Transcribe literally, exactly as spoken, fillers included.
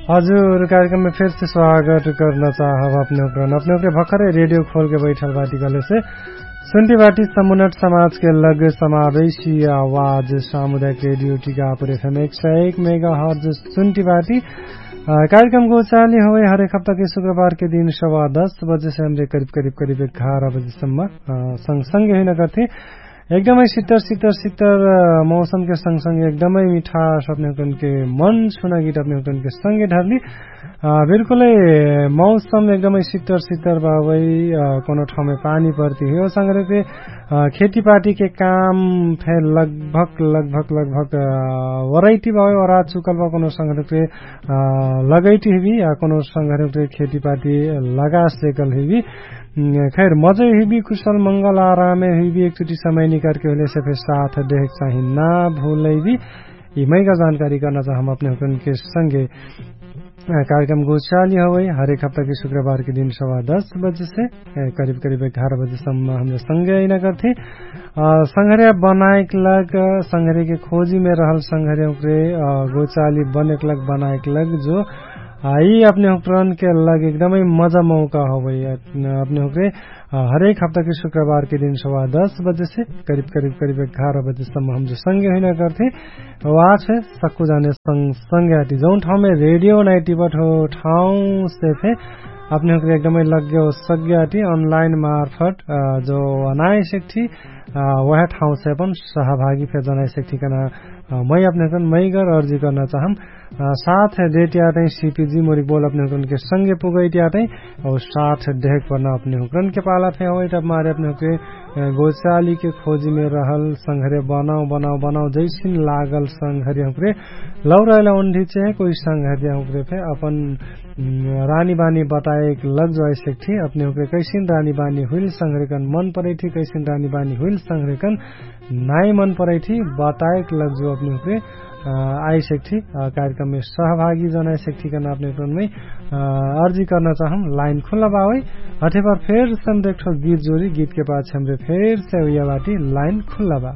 हजुर, कार्यक्रममे फेरसे स्वागत कर्ना चाहब अपने ओकरन। अपने ओकरे भखरे रेडियो खोलके बैठल बाटी कहलेसे सुन्टी बाटी समुनट समाजके लग समावेशी आवाज सामुदायक रेडियो टिकापुर एफएम एक सय एक मेगा हर्ज सुन्टी बाटी। कार्यक्रम गोचाली होवै हरेक हप्ताके शुक्रबारके दिन सवा दस बजेसे हमरे करिब करिब करिब एघार बजेसम्म सँगसँगे हुइना करथे। एकदमै सित्तर सित्तर सित्तर मौसमके सँगसँगे एकदमै मिठास अपने हुकनके मन सुना गीत अपने हुकनके सँगे ढारली। बिल्कुलै मौसम एकदमै सित्तर सित्तर बाबै। कोनो ठाउँमे पानी पर्ती हुयो सँगरेके खेतीपातीके काम फे लगभग लगभग लगभग वरैटी बाबै वरा चुकल बा कोनो सँगरेके लगैटी हुइबी या कोनो सँगरेके खेतीपाती लगास जेकल हुइबी। खैर मजै हुइबी कुशल मंगल आरामे हुइबी एकचोटी समय निकारके होइलेसे फे साथ देहेक चाही ना भुलैबी। यि मैका जानकारी कर्ना चाहम अपने हुकनके सँगे कार्यक्रम गोचाली हवै हरेक हप्ताके शुक्रबारके दिन सवा दस बजेसे करिब करिब एघार बजेसम्म हमरे सँगे अइना करथे। सँघर्या बनाएक लग सँघर्याके खोजीमे रहल सँघर्या हुकरे गोचाली बनेक लग बनाएक लग जो यि अपने हुकरनके लग एकदमै मजा मौका हवै। अपने हुकरे हरेक हप्ताके शुक्रबारके दिन सवा दस बजेसे करिब करिब करिब एघार बजेसम्म हमरे सँगे हुइना करथे। वाछे सक्कु जाने सँगसँगे आटी जौन ठाउँमे रेडियो नाइटी बठो ठाउँसे फे अपने हुकरे एकदमै लग्गे हो सक्गे आटी अनलाइन मार्फट जो अनाइ सेक्ठी वहे ठाउँसे अपन सहभागी फे जनाइ सेक्ठी कना मै अपने हुकरन मैगर अर्जी कर्ना चाहम। साथ देहट्याटै सिपिजी मोरिक बोल अपने हुकरनके सँगे पुगैट्याटै और साथ देहक पर्ना अपने हुकरनके पाला फे होइट अब मारे अपने हुकरे गोचालीके खोजीमे रहल सँघर्या बनाउ बनाउ बनाउ जैसिन लागल सँघर्या हुकरे लौराइला उन्ढी चेहे कोही सँघर्या हुकरे फे अपन रानी बानी बताएक लग जो आइसेक्ठी अपने हुकरे कैसिन रानी बानी हुइल सँघर्याकन मन परैठी कैसिन रानी बानी हुइल सँघर्याकन नाइ मन परैठी बताएक लग जो अपने हुकरे आइसेक्ठी कार्यक्रममे सहभागी जनाइसेक्ठी कन अपने हुकरनमै अर्जी कर्ना चाहम। लाइन खुल्ला बावै हठेपर फेरसे हमरे एकठो गीत जोरी गीतके पाछ हमरे फेरसे उया बाटी लाइन खुल्ला बा।